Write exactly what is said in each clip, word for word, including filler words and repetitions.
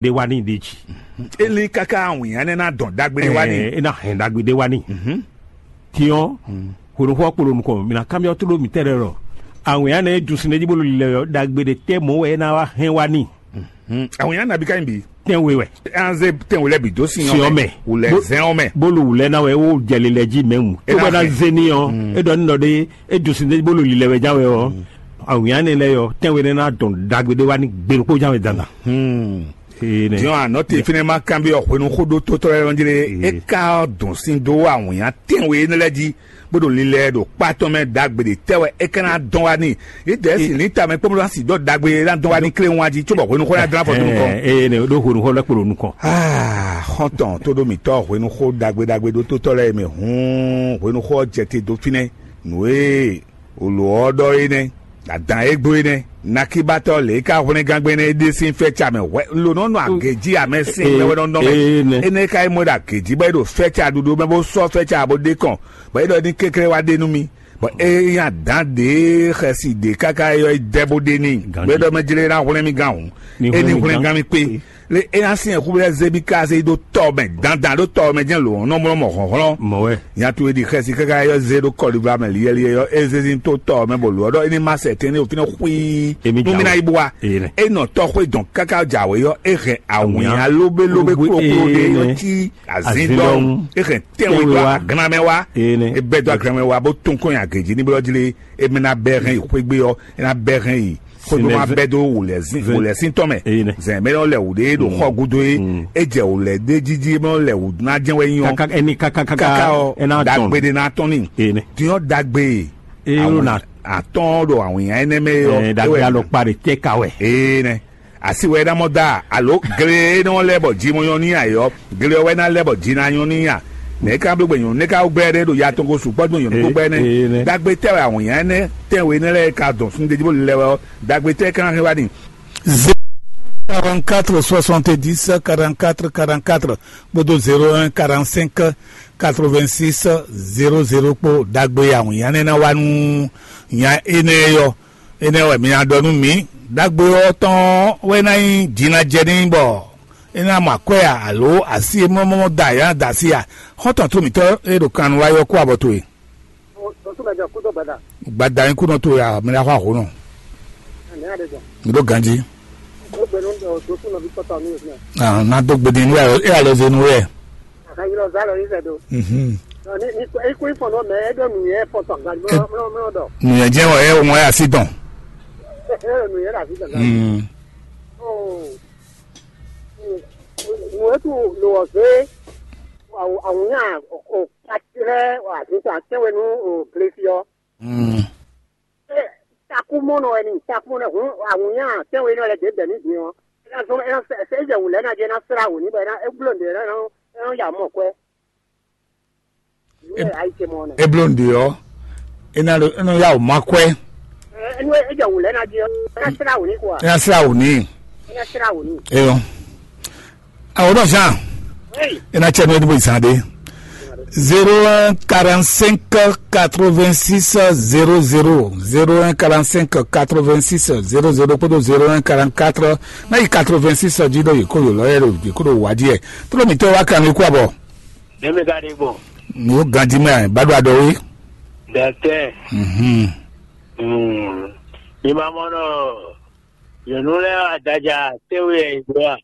ɖé wá n'i ɖ'é jí. Eli káká awǐnnya nɛ́ ná dɔn ɖagbe ɖé wá n'i. Ɛ, é ná hɛn ɖagbe ɖé wá n'i. Tiɔn, hwenuxɔ kpo ɖo nukɔn, mǐ ná kanbyɔ́ tlóló mǐtɛn lɛ́ɛ ɖɔ awǐnnya nɛ́ e dun sin ɖ'é jí bó ɖo lilɛ ɔ́, ɖagbe ɖé tɛ́ mɔ̌ wɛ é ná wá hɛn wá n'i. Awǐnnya nabí ka nyí bǐ? Tɛ́nwe wɛ. Anze tɛ́nwe lɛ́ɛ bǐ dó sin ɔ́ mɛ. Wulɛ zɛn ɔ́ mɛ. Bó lo wǔlɛ́ ná wɛ é wó jɛ lilɛ jí mɛ̌ mu. É bɔ ná zé n'i ɔ́, é ɖɔ nínɔ ɖé, é dun sin ɖ'é jí bó lo lilɛ wɛ ján wɛ ɔ́, awǐnnya nɛ́ lɛ́ɛ ɔ́, tɛ́nwe nɛ́ ná dɔn ɖagbe ɖé wá n'i gbe ɖokpó ján wɛ dandan. Ee nɛ. Diɔn anɔ te fínɛ́ má kanbyɔ́ hwenu xóɖótótɔ́ lɛ́ɛ nɔ jlé é ka dɔn sín dó awǐnnya tɛ́nwe énɛ́ lɛ́ɛ jí, bó ɖo lilɛ ɖo kpá tɔn mɛ ɖagbe ɖe tɛ́ wɛ é ka ná dɔn wá n'i. Yě dɛɛ si ní tamɛ kpɔ́n bó ná si dɔ́ ɖagbe é ná dɔn wá n'i kléwún wá jí, cóbɔ hwenu xó ná dlán fɔ dó nukɔn. Ee nɛ ɖó hwenu xó lɛ́ kpo ɖo nukɔn. Aa xɔ́ntɔn tó ɖó mǐtɔ́ hwenu xó ɖagbe ɖagbe ɖótótɔ́ lɛ́ɛ mɛ hǔn hwenu xó ɔ́ jɛ te dó fínɛ́. Nǔ e Wǒló ɔ́ ɖɔ é nɛ́, adǎn e gbo é nɛ́, nakíbatɔ́ lě e ka hwlɛ́ngángbe énɛ́ é ɖe sín fɛ́ca mɛ hwɛ un ɖo nɔ́ nɔ agě jí amɛ sín mɛ wɛ nɔ nɔ mɛ. Énɛ́ ka yi mɔ ɖo agě jí bɔ é ɖo fɛ́ca ɖuɖu mɛ bó sɔ́ fɛ́ca bó ɖe kɔn, bɔ é ɖɔ ní kɛnklɛ́n wá ɖe nú mì, bɔ é nyí adǎn ɖě xɛsi ɖě káká é ɔ́ yi dɛ bó ɖe n'i, bɔ é ɖɔ mɛ jlé ná hwlɛ́n mì gán hǔn, é ní hwlɛ́n gán mì kpé. Lé é ná syɛ́n xú lɛ́ɛ zé bí káse dó tɔ mɛ dandan ɖó tɔ mɛ jɛ́n lǒ nɔ mlɔ́ mɔ hlɔ̌nhlɔ́n. Mɔ̌ wɛ. Nya towe ɖi xɛsi káká yɔ zé ɖó kɔlivla mɛ liɛ́liɛ́ yɔ é zé sín tó tɔ mɛ bɔ lǒ ɔ́ ɖɔ é ní má sɛ tɛ́ntin ɖo fínɛ́ xwíí. Nú mì ná yi bó wa. Énɛ́. É nɔ tɔ xwé dɔn káká jǎwe yɔ é hɛn awǐnnya lóbélóbé kplókpló ɖé yɔ cí azíndɔn. É hɛn tɛ́nwe dó aglan mɛ wá. É bɛ́ dó aglan mɛ wá bó tún kɔn nyi agě jí ní blɔ́ jí lé. É mɛ ná bɛ́ hɛn yi xwé gbé ɔ́, é ná bɛ́ hɛn yi xwé gbé má bɛ́ dó wǔlɛ́zín wǔlɛ́sín tɔn mɛ. Zɛ̌n mɛ nɔ lɛ wǔ ɖé ɖo xɔ gúdo é, é jɛ wǔlɛ́ ɖé jíjí mɛ nɔ lɛ wǔ ná jɛ́n wɛ nyí ɔ́. Káká ɛni káká káká káká ɔ́ ɛ ná tɔn. Dagbe ɖé ná tɔn ní. Din ɔ́ dagbe. Eye ló na atɔn ɖo awǐnnya énɛ́ mɛ ɔ́. Dagbe alɔkpa ɖe tɛ ka wɛ. Ee nɛ. Asi wɛ é ná mɔ da alo gle e nɔ lɛ bɔ ji mɔ nyɔ ní ayɔ gle ɔ́ wɛ ná lɛ bɔ ji ná nyɔ ní a. Nɛ̌ ká bló gbɛ nyɔ̌nu nɛ́ ká wú gbɛ ɖé ɖo ya tɔn ko sukpɔ́ dó nyɔ̌nu kpó gbɛ nɛ́? Dagbe tɛ́ wɛ awǐnnya énɛ́ tɛ́nwe énɛ́ lɛ́ɛ ka dɔn sun ɖeji bó lilɛ wɛ ɔ́, dagbe tɛ́ ka ná hɛn wá n'i? Zéro quarante-quatre soixante-dix quarante-quatre quarante-quatre kpódó zéro un quarante-cinq quatre-vingt-six zéro zéro kpó dagbe awǐnnya énɛ́ ná wá nú nya énɛ́ yɔ. Énɛ́ wɛ mi ná ɖɔ nú mǐ, ɖagbe ɔ́ tɔn wɛ ná nyí jǐnajɛ n'i bɔ é ná mɔ akwɛ́ a, alo asi e mlɔ́mlɔ́ da yě ná da así a? Xɔ́ntɔn tó mǐtɔn e ɖo kan nu wá yɔ kú abɔ towe. Gbada nyí kúnɔ towe a, mi ná xɔ ahǒ nɔ. Mi ɖó ganjí. Ah, ná dó gbe din nú ɛ, é alɔ zé nú ɛ. Mhm. Nǔnyɛ jẹ́ wɔ ɛ wọ́n ɛ así tɔn. Mm. Nǔ e tu lo ɔ̀zé awǔnyá o kpatlɛ wà zǐn tɔn àtɛ́nwenu o glesi ɔ́. Mm. Takú mɔnɔ wɛ ni takú mɔnɔ hun awǔnyá àtɛ́nwenu lɛ dě bɛ̌ ní din ɔ́. É ná zɔ́n é ná sɛ é jɛ wǔ lɛ́ɛ ná jɛ é ná slá wǔ ní bɔ é ná é bló nǔɖé é ná é ná ya mɔ kwɛ́. Nǔ e ayi ce mɔ nɛ. E bló nǔɖé ɔ́, é ná ɖo é nɔ yá wǔ má kwɛ́. Ɛ é nú é jɛ wǔ lɛ́ɛ ná jɛ é ná slá wǔ ní quoi. É ná slá wǔ ní. É ná slá wǔ ní. Eyɔ. Awo dɔ Jean. Oui. É ná cɛ nú é ní bó zan ɖé. Zéro un quarante-cinq quatre-vingt-six zéro zéro, zéro un quarante-cinq quatre-vingt-six zéro zéro kpódó zéro un quarante-quatre ná yi quatre-vingt-six jí ɖo yě kó yǒ lɔ yɛ ɖo yě kó ɖo wǎ jí yɛ. Tló mǐtɔn wá kan mi kú abɔ. Ɖé mi ka ɖe gbɔn. Mi ó ganjí mɛ bá ɖo aɖɔ wé. Dɛtɛ. Mhm. Mm. Mi ma mɔ nɔ yɔnu lɛ adaja tɛwe yɛ yi do a?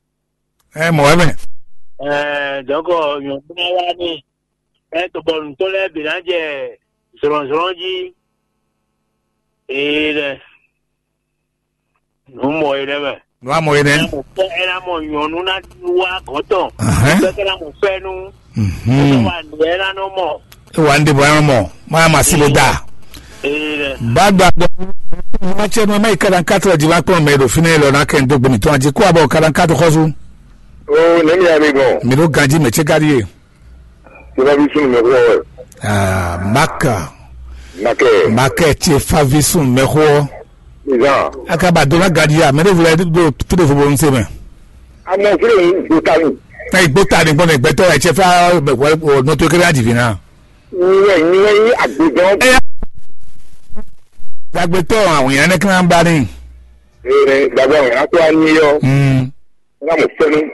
Ɛ mɔ wɛ mɛ. Ɛɛ dɔkɔ yɔnu na wa ni ɛ tɔbɔ nutɔ lɛ bi na jɛ zlɔnzlɔn ji. Ee dɛ. Nǔ mɔ é nɛ́ mɛ. Nǔ amɔ é nɛ́. Ɛ ná mɔ nyɔ̌nu ná wá gɔ̌n tɔn. Ahɛn. Bɛ́ ká ná mɔ fɛ́nú. Mhm. Ɛ wa nǔ ɛ ná nɔ mɔ. E wa nu ɖe bɔ ɛ nɔ mɔ. Ma ma si bo da. Ee dɛ. Ba gba dɔ. Ma cɛ nu ma yi kaɖankatɔ jí ma kplɔn mɛ ɖo fínɛ́ lɔ ná kɛ n dó gbe mǐtɔn jí kó abɔ kaɖankatɔ xɔsu. O nɛmi ya mi gbɔn. Mi ɖo ganji mɛ cɛ ka ɖi ye. Tsofavi sunu mɛ xɔ wɛ. Ah, Maka. Makɛ. Makɛ Tsofavi sunu mɛ xɔ. Izan. Aka ba dona gadi ya mɛ ɖevo lɛ do tere fo bonu se mɛ. Amɔ fúlẹ̀ ń gbóta ni. Ɛ gbóta ni gbɔn gbɛtɔ ɛ Tsofa nɔtɔ kele adi vi na. Nyɛ nyɛ yi agbedɔn. Ɛ ya. Gbàgbé tɔ àwọn yẹn ní kí wọn bá ní. Ee gbàgbé àwọn yẹn á tó á ní yọ. Mm. Ná mɔ fɛ́nú